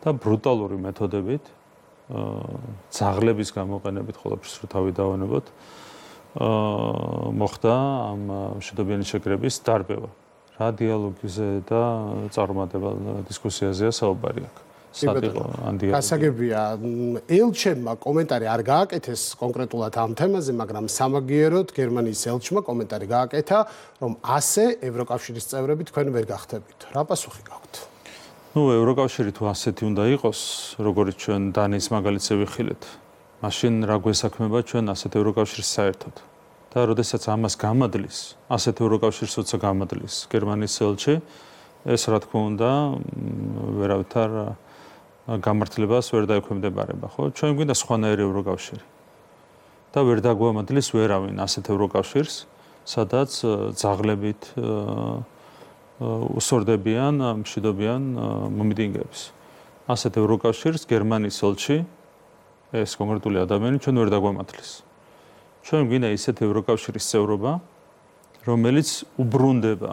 და ბრუტალური მეთოდებით ძაღლების გამოყენებით ყველაფერს რო თავი დავანებოთ მოხდა ამ მშვიდობიანი შეკრების დარბევა. რა დიალოგზე და წარმატებელ დისკუსიაზეა საუბარი აქ. გასაგებია, ელჩებმა კომენტარი არ გააკეთეს კონკრეტულად ამ თემაზე, მაგრამ სამაგიეროდ გერმანიის ელჩმა კომენტარი გააკეთა, რომ ასე ევროკავშირის წევრები თქვენ ვერ გახდებით. რა პასუხი გაქვთ? ევროკავშირი თუ ასეთი უნდა იყოს, როგორც ჩვენ დანიის მაგალითზე ვიხილეთ, მაშინ რა გვესაქმება ჩვენ ასეთ ევროკავშირს საერთოდ? და როდესაც ამას გამადლის, ასეთ ევროკავშირს როცა გამადლის გერმანიის ელჩი, ეს რა თქმა უნდა ვერავითარ გამართლებას ვერ დაექვემდებარება, ხო? ჩვენ გვინდა სხვანაირი ევროკავშირი. და ვერ დაგვამადლის ვერავინ ასეთ ევროკავშირს, სადაც ძაღლებით უსორდებიან, მშვიდობიან მომიტინგეებს. ასეთ ევროკავშირს გერმანიის ელჩი, ეს კონკრეტული ადამიანი ჩვენ ვერ დაგვამადლის. ჩვენ გვინდა ისეთ ევროკავშირის წევრობა, რომელიც უბრუნდება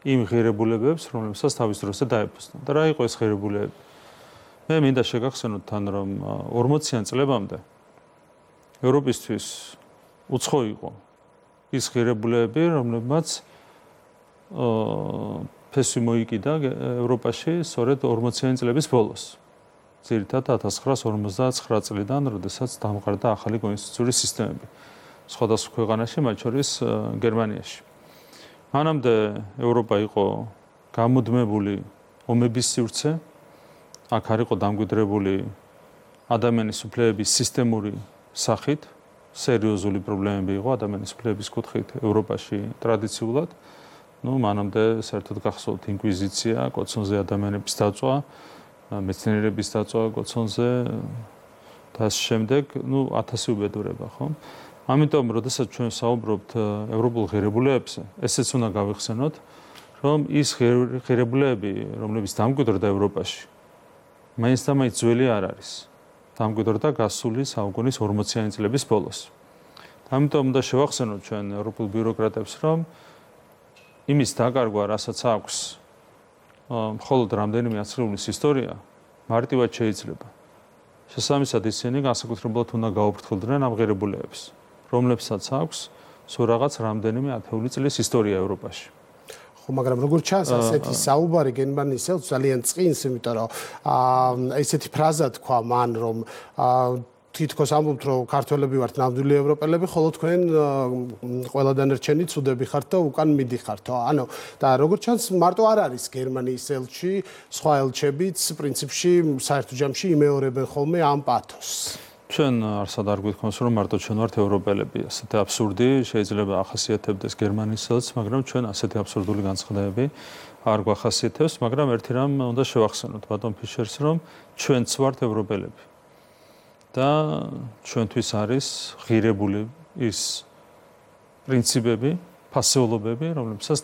იმ ღირებულებებს, რომლებსაც თავის დროზე დაეფუძნა. და რა იყო ეს ღირებულებები? მე მინდა შეგახსენოთ თან, რომ 40-იან წლებამდე ევროპისთვის უცხო იყო ის ღირებულებები, რომლებმაც ფესვი მოიკიდა ევროპაში სწორედ 40-იანი წლების ბოლოს. ძირითადად 1959 წლიდან, როდესაც დამყარდა ახალი კონსტიტუციური სისტემები სხვადასხვა ქვეყანაში, მათ შორის გერმანიაში. მანამდე ევროპა იყო გამუდმებული ომების სივრცე, აქ არ იყო დამკვიდრებული ადამიანის უფლებების სისტემური სახით, სერიოზული პრობლემები იყო ადამიანის უფლებების კუთხით ევროპაში ტრადიციულად. მანამდე საერთოდ გახსოვთ ინკვიზიცია, კოცონზე ადამიანების დაწვა, მეცნიერების დაწვა კოცონზე და ამ შემდეგ, 1000 უბედურება, ხო? ამიტომ, როდესაც ჩვენ საუბრობთ ევროპულ ღირებულებებზე, ესეც უნდა გავიხსენოთ, რომ ის ღირებულებები, რომლებიც დამკვიდრდა ევროპაში, მაინც და მაინც ძველი არ არის. დამკვიდრდა გასული საუკუნის 40-იანი წლების ბოლოს. ამიტომ უნდა შევახსენოთ ჩვენ ევროპულ ბიუროკრატებს, რომ იმის დაკარგვა, რასაც აქვს მხოლოდ რამდენიმე ათწლეულის ისტორია, მარტივად შეიძლება. შესაბამისად, ისინი განსაკუთრებულად უნდა გაუფრთხილდნენ ამ ღირებულებებს, რომლებსაც აქვს სულ რაღაც რამდენიმე ათეული წლის ისტორია ევროპაში. მაგრამ როგორც ჩანს, ასეთი საუბარი გერმანიის ელჩს ძალიან წყინს, იმიტომ რომ ესეთი ფრაზა თქვა მან, რომ თითქოს ამბობთ, რომ ქართველები ვართ ნამდვილი ევროპელები, ხოლო თქვენ ყველა დანარჩენი ცუდები ხართ და უკან მიდიხართ. ანუ და როგორც ჩანს, მარტო არ არის გერმანიის ელჩი, სხვა ელჩებიც პრინციპში საერთო ჯამში იმეორებენ ხოლმე ამ პათოსს. ჩვენ არსად არ გვითხოვს, რომ მარტო ჩვენ ვართ ევროპელები. ასეთი აბსურდი შეიძლება ახასიათებდეს გერმანიის ელჩს, მაგრამ ჩვენ ასეთი აბსურდული განცხადებები არ გვახასიათებს, მაგრამ ერთი რამ უნდა შევახსენოთ ბატონ ფიშერს, რომ ჩვენც ვართ ევროპელები. და ჩვენთვის არის ღირებული ის პრინციპები, ფასეულობები, რომლებსაც